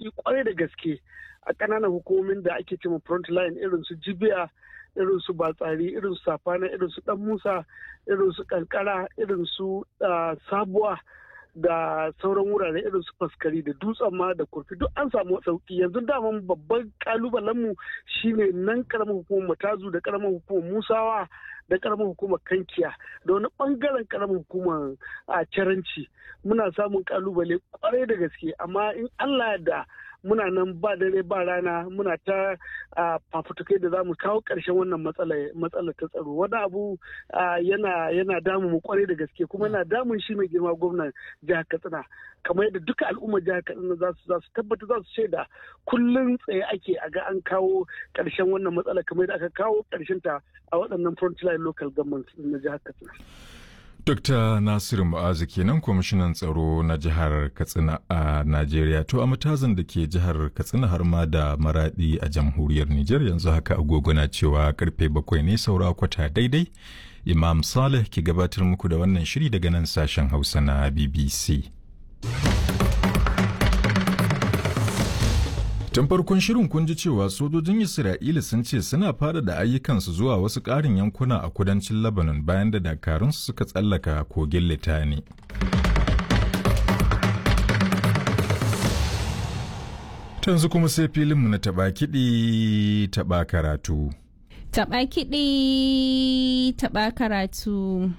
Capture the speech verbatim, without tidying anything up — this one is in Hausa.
sauki kwarai da gaske a ƙananan hukumomin da ake cewa front line, irin su Jibiya, irin su Batsari, irin su Safana, irin su Dan Musa, irin su Kankara, irin su Sabuwa da sauran wurare irin su Faskari da Dutsen Ma da Kurfi, duk an samu sauki. Yanzu daman babban kalubalenmu shine nan karamar hukumar Matazu da karamar hukumar Musawa da karamar hukumar Kankiya da wani bangaren karamar hukumar a Caranci. Muna samun kalubale kwarai da gaske, amma in Allah da muna nan ba dare ba rana muna ta fafutukai da za mu kawo ƙarshen wannan matsala ta tsaro. Wani abu yana yana damu mu kwarai da gaske, kuma yana damun shi mai girma gwamnan jihar Katsina, kamar yadda duka al'ummar jihar Katsina za su za su tabbata, za su shaida kullum tsaye ake a ga an kawo ƙarshen wannan matsala kamar yadda aka kawo ƙarshen ta a waɗannan frontline local governments na jihar Katsina. Dokta Nasiru Mu'azu kenan, kwamishinan tsaro na jihar Katsina a Najeriya. To, a Matazan da ke jihar Katsina har ma da Maradi a jamhuriyar Nijar, yanzu haka agogo na cewa karfe bakwai ne saura kwata daidai. Imam Saleh ke gabatar muku da wannan shiri daga nan sashen Hausa na B B C. Tun farkon shirin kun ji cewa sojojin Isra'ila sun ce suna fara da ayyukansu zuwa wasu ƙarin yankuna a kudancin Lebanon bayan da dakarunsu suka tsallaka kogin Litani. Yanzu kuma sai filinmu na taɓa kiɗi taɓa karatu. Taɓa kiɗi taɓa karatu.